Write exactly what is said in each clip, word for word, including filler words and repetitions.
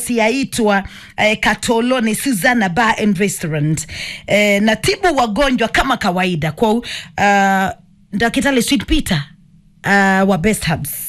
University yaitwa, eh, Katoloni Susanna Bar and Restaurant. Eh, natibu wagonjwa kama kawaida. Kwa, uh, Ndakitali Sweet Peter, uh, wa Best Herbs.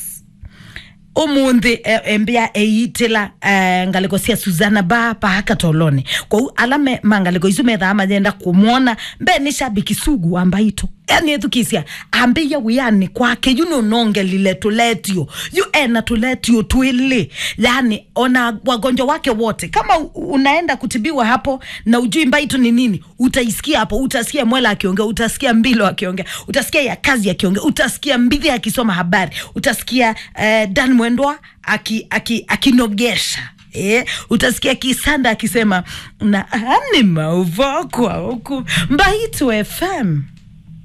Ũmũnthĩ, eh, embĩa eĩtĩla, eh, ngalĩko sya Susanna Bar paa Katoloni. Kwoou ala me, ma ngalĩko isu methaa mayenda kũmwona, mbee nĩ shabiki sugu wa Mbaitũ. Yani ethukĩsya, ambĩie wĩanĩ kwake, yu nũnongelile tũletio. Yu ena tũletio twĩlĩ. Yani, ona wagonjwa wake wote. Kama u-, unaenda kutibiwa hapo na ujui Mbaitũ ni nini, utaisikia hapo, utasikia Mwela akiongea, utasikia Mbilo akiongea, utasikia Yakazi akiongea, utasikia Mbithi akisoma habari, utasikia, eh, Dan Mwendwa aki, aki, akinogesha. Eh, utasikia Kisanda akisema, na ani mauvokwa huku. Mbaitũ F M.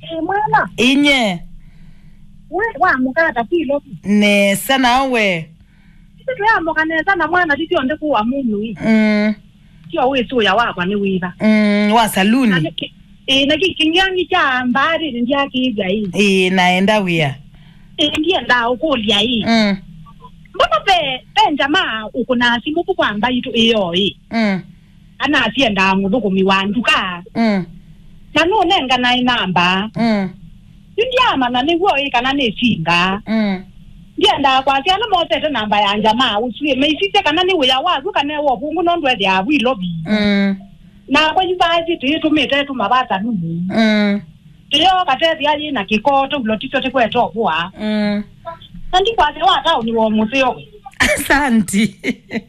Eh, mwana. Inye. We, wa mukata kilo. Nesa nawe. Sisi tuyamoka nesa na mwana titi onde kuwa mumu ii. Mm. Tio wĩsũya wakwa nĩ wĩva. Mm, wa saluni. Na nĩkĩ, ĩĩ, na kĩ kĩng'ang'i kya mbaarĩnĩ ndyakĩĩthya ĩĩ. Ĩĩ, naenda wĩa. Ĩĩ, ndiendaa ũkũlya ĩĩ. Mm. Mbona ve, ve njamaa ũkũnaa simũ vu kwa Mbaitũ ĩyo ĩĩ? Mm. Kana asyendaa mũthũkũmi wa nduka. Mm. Na nũnenganae namba. Mm. Yu ndyaamanya nĩw'o ĩ kana nĩ singa. Mm. Ndyendaa kwasya ala mosete namba ya njamaa ũsu ĩ, meisisye kana nĩ wĩa waku kana e wa ũvũngũ nũndũ ethĩaa wĩ lovi. Mm. Nakwa yu vaasi tũyĩtũmĩte tũmavasa nũmũ. Mm. Tũyoo katethĩa yĩ na kĩkoo tũvulo titũ tĩkwete ũvũa. Mm. Na ndikwasya wa taũni wa mũseo. Asanti.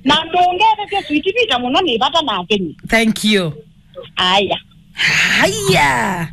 Na ndũngethetye Sweet Peter mũno nĩ vata nake nyie. Thank you. Aya. Haya.